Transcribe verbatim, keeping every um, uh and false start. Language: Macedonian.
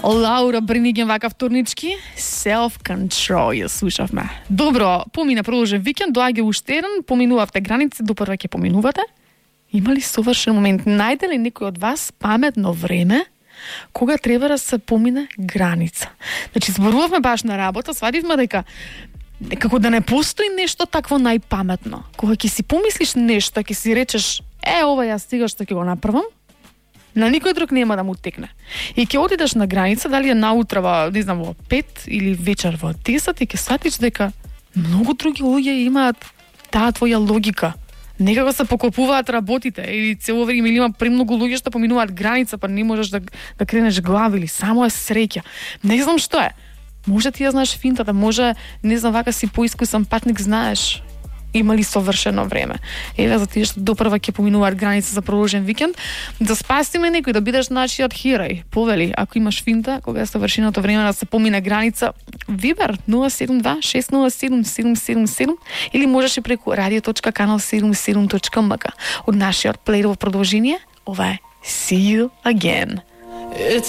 Лаура Бриниген вака вторнички, Self-Control ја слушавме. Добро, помина продолжен викенд, доаѓа уште еден, поминувавте граници, допрва ќе поминувате. Има ли совршен момент? Најде ли некој од вас паметно време кога треба да се помине граница? Значи, зборувавме баш на работа, свадивме дека како да не постои нешто такво најпаметно. Кога ќе си помислиш нешто, ќе си речеш, е, ова ја стига што ќе го направам, на никој друг нема да му текне. И ќе одидеш на граница, дали е наутро во, не знам, во пет или вечер во десет, и ќе сватиш дека многу други луѓе имаат таа твоја логика. Некако се покопуваат работите или цело време, или има премногу луѓе што поминуваат граница, па не можеш да, да кренеш глава, или само е среќа. Не знам што е. Може ти ја знаеш финтата, може, не знам, вака си поискусен патник, знаеш има ли совршено време. Еве за тие што допрва ќе поминуваат граница за продолжен викенд, да спасиме некој, да бидеш нашиот херој. Повели, ако имаш финта, кога е совршеното време да се помине граница, Вибер нула седум два шест нула седум седум седум седум или можеш и преку радио точка канал седумдесет и седум точка ем ка. Од нашиот плеј во продолжение, ова е See You Again. It's